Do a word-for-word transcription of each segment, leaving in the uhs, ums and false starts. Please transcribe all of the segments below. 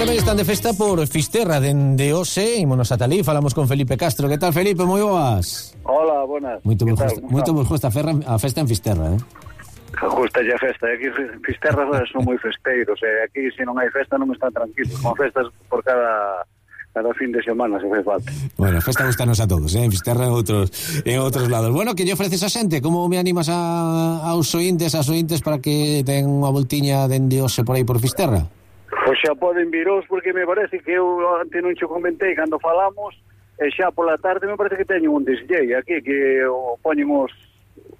tamén están de festa por Fisterra dende hoxe, ímonos ata ali, falamos con Felipe Castro. Que tal, Felipe? Moi boas. Hola, buenas. Moito vos gusta, moito vos gusta a festa en Fisterra, eh? Justa a festa, aquí Fisterra son moi festeiros, e aquí se non hai festa non están tranquilos, con festas por cada cada fin de semana se fai falta. Bueno, a festa gustanos a todos, eh? En Fisterra e outros, en outros lados. Bueno, que lle ofreces a xente? Como me animas a, aos ointes, as ointes para que ten unha voltiña dende hoxe por aí por Fisterra? Pois xa poden viros, porque me parece que eu antes non che comentei cando falamos, e xa pola tarde me parece que teñen un D J aquí, que o poñen os,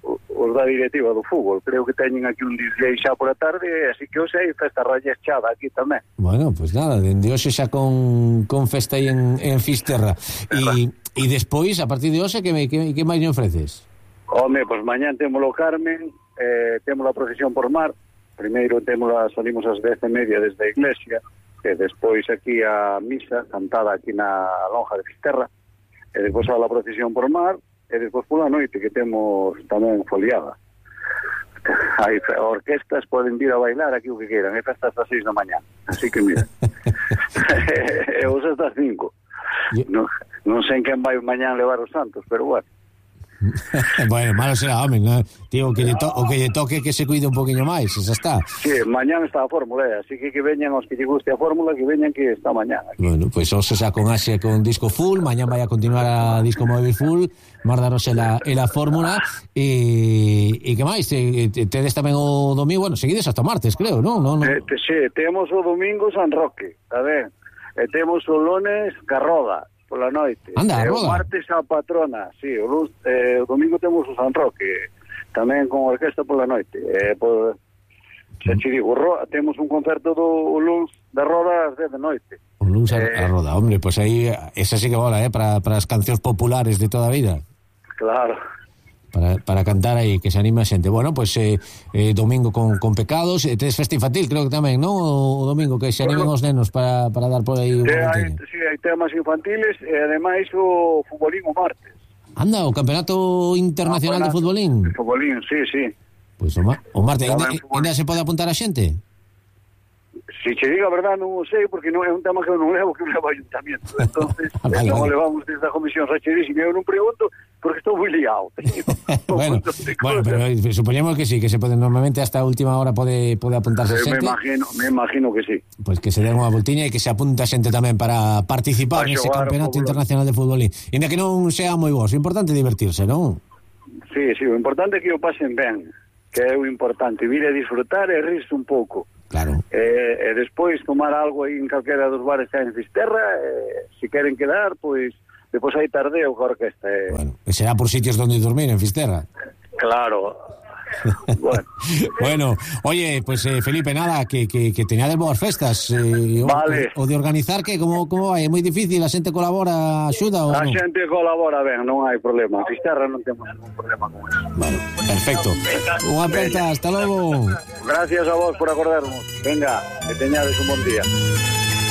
os da directiva do fútbol. Creo que teñen aquí un D J xa pola tarde, así que hoxe hai festa rallechada aquí tamén. Bueno, pois pues nada, dende hoxe xa con, con festa aí en, en Fisterra. E, e despois, a partir de hoxe, que, que, que máis me ofreces? Home, pois pues mañán temos o Carmen, eh, temos a procesión por mar. Primeiro temos a, salimos ás dez e media desde a iglesia, e despois aquí a misa cantada aquí na lonja de Fisterra, e despois a la procesión por mar, e despois pola noite que temos tamén foliada. Hai orquestas, poden vir a bailar aquí o que queiran, é festa hasta seis da mañá, así que mira. E os hasta cinco. Non, non sei quen vai mañán levar os santos, pero bueno. Bueno, malo será, home, ¿no? Tío, o que lle to, o que lle toque que se cuide un poquinho máis, xa está. Sí, mañán está a fórmula, eh? Así que que veñan os que lle guste a fórmula, que veñan que está mañán aquí. Bueno, pois pues, hoxe xa con Axe con disco full, mañán vai a continuar a disco móvil full, mardaros la, la fórmula, e, e que máis? Te, te, tedes tamén o domingo, bueno, seguides hasta martes, creo, non? No, no. Eh, te, sí, temos o domingo San Roque, a ver, e temos o lunes Carroda, pola noite. Anda, eh, o martes a patrona, sí, o, luz, eh, o domingo temos o San Roque, tamén con orquesta pola noite. Eh, por, se che digo, ro, temos un concerto do luns da Roda ás dez da noite. O luns a, eh, a Roda, hombre, pois pues aí esa sí que bola, eh, para, para as cancións populares de toda a vida. Claro. Para, para cantar aí, que se anima a xente. Bueno, pois pues, eh, eh, domingo con, con pecados, e tedes festa infantil, creo que tamén, non? O, o domingo, que se animen os nenos para, para dar por aí un hai, sí, hai temas infantiles, e ademais o futbolín o martes. Anda, o Campeonato Internacional de Futbolín. De futbolín, sí, sí. Pois pues, o, ma, o martes, ainda, ainda se pode apuntar a xente? Si che digo a verdad non o sei, porque non é un tema que eu non levo, que eu levo ayuntamiento. Entonces, vale, non vale. levamos desde a comisión racherísima, eu non pregunto porque estou moi liado. bueno, bueno, pero supoñemos que sí, que se pode normalmente hasta a última hora pode pode apuntarse eh, xente. Me imagino, me imagino que sí. Pois pues que se den unha voltiña e que se apunta xente tamén para participar nese Campeonato Internacional de Futbolín. Inda que non sea moi vos, o importante é divertirse, non? Sí, sí, o importante é que o pasen ben, que é o importante, vir a disfrutar e rirse un pouco. Claro. Eh, e despois tomar algo aí en calquera dos bares que hai en Fisterra, eh, se queren quedar, pois depois hai tardeo coa orquesta. Eh. Bueno, e será por sitios donde dormir en Fisterra. Claro. Bueno. Bueno, oye, pues eh, Felipe, nada, que, que, que teñades boas festas. Eh, vale. O, o de organizar, que como, como vai? É moi difícil, a xente colabora, axuda ou A non? xente colabora ben, non hai problema. En Fisterra non temos ningún problema con eso. Bueno, perfecto. Unha aperta, hasta logo. Gracias a vos por acordarnos. Venga, que teñades un bon día.